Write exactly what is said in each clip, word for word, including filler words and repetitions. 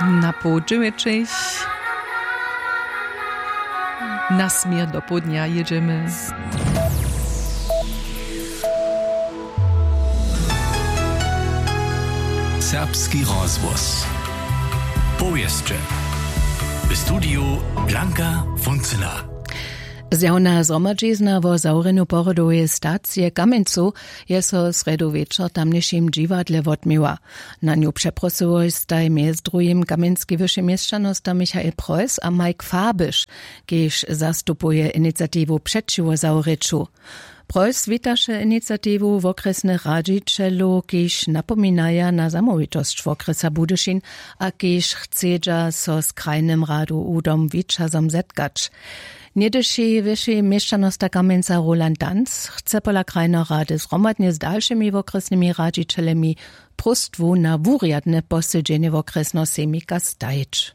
Na poł dźewjećich na směr do połdnja jědźemy. Serbski rozhłos. Powěsće. W studiju Blanka Funcyna. Zjawna zhromadźizna wo zawrjenju pohrodoweje stacije w Kamjencu je so srjedu wječor w tamnišim dźiwadle wotměła. Na nju přeprosyłoj staj mjez druhim kamjenski wyši měšćanosta Michael Preuss a Mike Fabisch, kiž zastupuje iniciatiwu přećiwo zawrěću. Preuss witaše iniciatiwu wokrjesnych radźićelow, kiž napominaja na zamołwitosć wokrjesa Budyšin a kiž chcedźa so z krajnym radu udom wićazom zetkać. Něhdyši wyši měšćanosta Kamjenca Roland Danz chce pola krajneho rady zhromadnje z dalšimi wokrjesnymi radźićelemi próstwu na wurjadne posedźenje wokrjesneho sejmika stajić.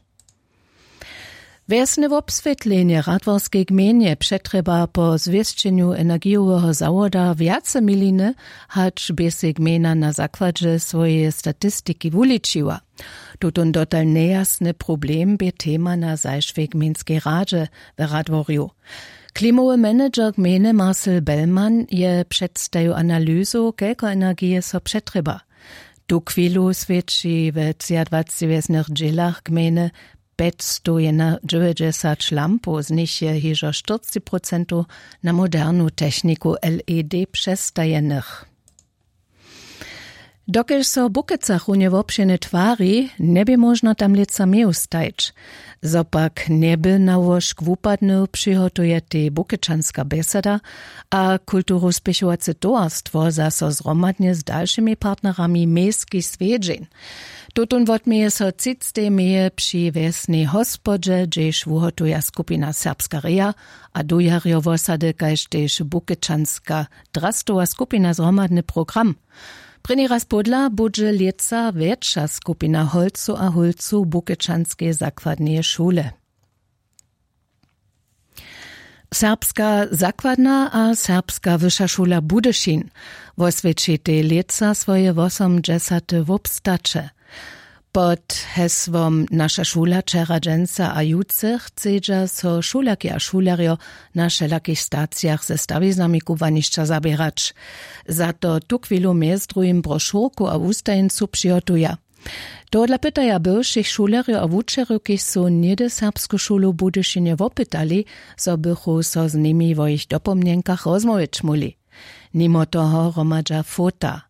Wjesne wobswětlenje w Radworskej gmejnje přetrjeba po zwěsćenju energijoweho zawoda wjace miliny, hač bě sej gmejna na zakładźe swojeje statistiki wuličiła. Tutón dotal njejasny problem bě tema na zašłej gmejnskej radźe w Radworju. Klimowy manager gmejny Marcel Bellmann je předstajił analyzu, kelko energije so přetrjeba. Tuchwilu swědči we třiadwaceći wjesnych dźělach gmejny pjećstowjedynadźewjećdźesat lampow, z nich je hižo štyrceći procentow na modernu techniku L E D přestajenych. Dokelž so w Bukecach runje wobšěrnje twari, njebě móžno tam lětsa meju stajić. Zo pak njeby na łóžk wupadnył, přihotujetej Bukečanska bjesada a kulturow spěchowace towarstwo zaso zhromadnje z dalšimi partnerami mejski swjedźeń. Tutón wotměje so třictej meje při wjesnej hospodźe, hdźež wuhotuja skupina Serbska reja a dujarjo wosady, kaž tež Bukečanska drastowa skupina zhromadny program. Prěni raz pódla budźe lětsa wjetša skupina holcow a hólcow Bukečanskeje zakładneje šule. Serbska zakładna a Serbska wyša šula Budyšin woswjećitej lětsa swoje wosomdźesate wobstaće. Pod hesłom Naša šula wčera, dźensa a jutře chcedźa so šulerki a šulerjo na wšelakich stacijach ze stawiznami kubłanišća zaběrać. Za to tuchwilu mjez druhim brošurku a wustajeńcu přihotuja. Tohodla pytaja bywšich šulerjow a wučerjow, kiž su něhdy Serbsku šulu w Budyšinje wopytali, zo bychu so z nimi wo jich dopomnjenkach rozmołwić móhli. Nimo toho hromadźa fota.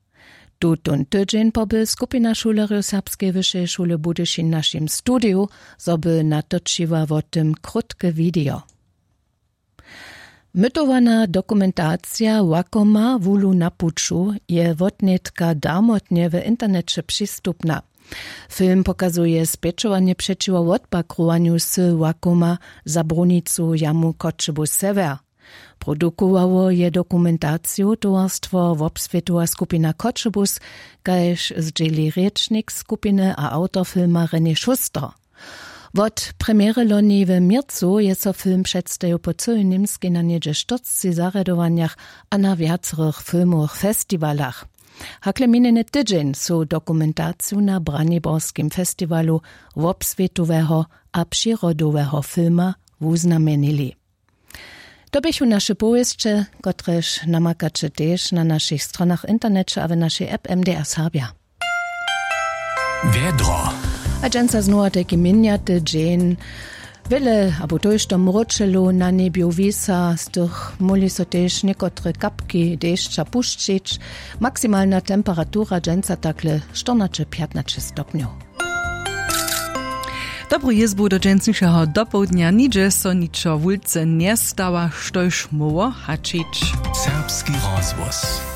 Tutón tydźeń poby skupina šulerjow Serbskeje wyšeje šule Budyšin w našim studiju, zo by natočiła wo tym krótke widejo. Mytowana dokumentacija Łakoma wulu na puću je wotnětka darmotnje w interneće přistupna. Film pokazuje spjećowanje přećiwo wotpakrowanju wsy Łakoma za brunicu jamu Choćebuz Sewjer. Produkowało je dokumentaciju towarstwo Wobswětowa skupina Choćebuz, kaž zdźěli rěčnik skupiny a awtor filma René Schuster. Wot premjery loni w měrcu je so film předstajił po cyłej Němskej na něhdźe štyrceći zarjadowanjach a na wjacorych filmowych festiwalach. Hakle minjeny tydźeń su dokumentaciju na Braniborskim festiwalu wobswětoweho a přirodoweho filma wuznamjenili. To běchu naše powěsće, kotrež namakaće tež na našich stronach w interneće a w našej app M D R Serbja. Wjedro. A dźensa znowa tajki měnjaty dźeń. Wjele abo tójšto mróčelow na njebju wisa, z tych móhli so tež někotre kapki dešća pušćić. Maksimalna temperatura dźensa takle štyrnaće pjatnaće stopnjow. Dobru jězbu do dźensnišeho dopołdnja. Nihdźe so ničo wulce njestała, štož móhło haćić. Serbski rozhłos.